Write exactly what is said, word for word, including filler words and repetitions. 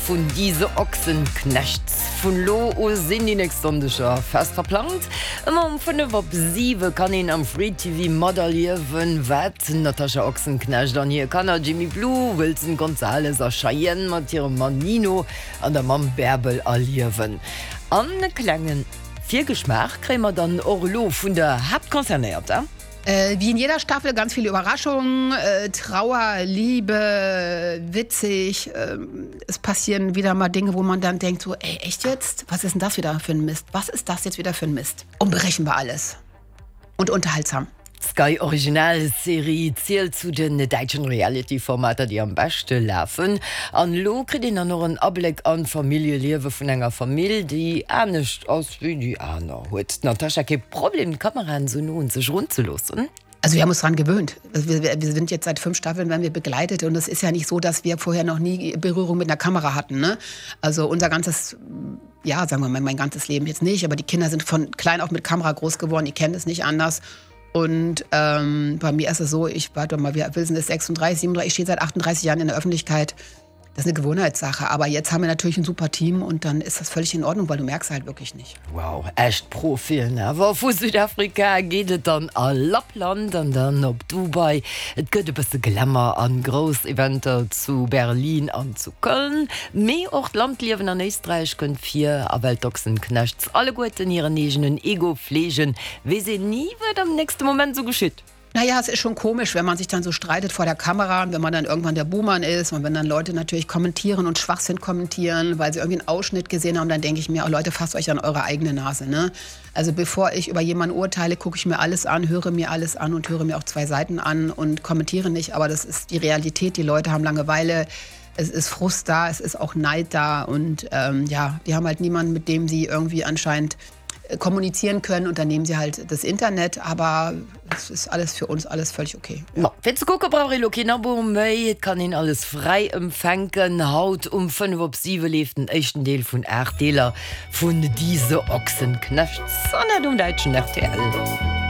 vun Diese Ochsenknechts. Vun elo u sinn déi nächst Sonndeger fest verplangt. Ëmmer um fënnef op siwe kann een am Free T V materliewen, wat d'Natascha Ochsenknecht an hir Kanner Jimmy Blue, Wilson Gonzales a Cheyenne mat hirem Mann Nino an der Mamm Bärbel erliewen. An e klenge Virgeschmaach kréie mer dann och elo vun der Haaptconcernéierter. Äh, wie in jeder Staffel ganz viele Überraschungen, äh, Trauer, Liebe, witzig. Äh, es passieren wieder mal Dinge, wo man dann denkt, so, ey, echt jetzt? Was ist denn das wieder für ein Mist? Was ist das jetzt wieder für ein Mist? Unberechenbar alles. Und unterhaltsam. D'Sky Original Serie zielt zu den däitschen Reality-Formater, déi am beschte lafen. An elo kritt een dann och en Abléck an d'Familljeliewe vun enger Famill, déi anescht ass wéi déi aner. Huet d'Natascha kee Problem, d'Kameraen esou no un sech erunzeloossen? Also wir haben uns daran gewöhnt. Wir, wir sind jetzt seit fünf Staffeln, werden wir begleitet und es ist ja nicht so, dass wir vorher noch nie Berührung mit einer Kamera hatten. Ne? Also unser ganzes, ja, sagen wir mal, mein ganzes Leben jetzt nicht, aber die Kinder sind von klein auf mit Kamera groß geworden, die kennen es nicht anders. Und ähm, bei mir ist es so, ich warte mal, wir Wilson ist sechsunddreißig, siebenunddreißig, ich stehe seit achtunddreißig Jahren in der Öffentlichkeit. Das ist eine Gewohnheitssache. Aber jetzt haben wir natürlich ein super Team und dann ist das völlig in Ordnung, weil du merkst halt wirklich nicht. Wow, echt Profien. Awer vu Südafrika geet et dann a Lappland an dann op Dubai. Et gëtt e bësse Glamour an grouss Eventer zu Berlin an zu Köln. Mee och d'Landliewen an Éisträich kënnt vir. A well d'Ochsenknechts alleguerten hiren eegenen Ego fleegen, weess een ni, wat am nächste Moment sou geschitt. Naja, es ist schon komisch, wenn man sich dann so streitet vor der Kamera und wenn man dann irgendwann der Buhmann ist und wenn dann Leute natürlich kommentieren und Schwachsinn kommentieren, weil sie irgendwie einen Ausschnitt gesehen haben, dann denke ich mir, oh Leute, fasst euch an eure eigene Nase. Ne? Also bevor ich über jemanden urteile, gucke ich mir alles an, höre mir alles an und höre mir auch zwei Seiten an und kommentiere nicht. Aber das ist die Realität, die Leute haben Langeweile, es ist Frust da, es ist auch Neid da und ähm, ja, die haben halt niemanden, mit dem sie irgendwie anscheinend kommunizieren können und dann nehmen sie halt das Internet, aber es ist alles für uns alles völlig okay. Ja. Fir ze kucke brauch ee lo keen Abo méi, et kann een alles fräi empfänken. Haut um fënnef op siwe leeft den éischten Deel vun aacht Deeler vun Diese Ochsenknechts an dat um däitschen R T L.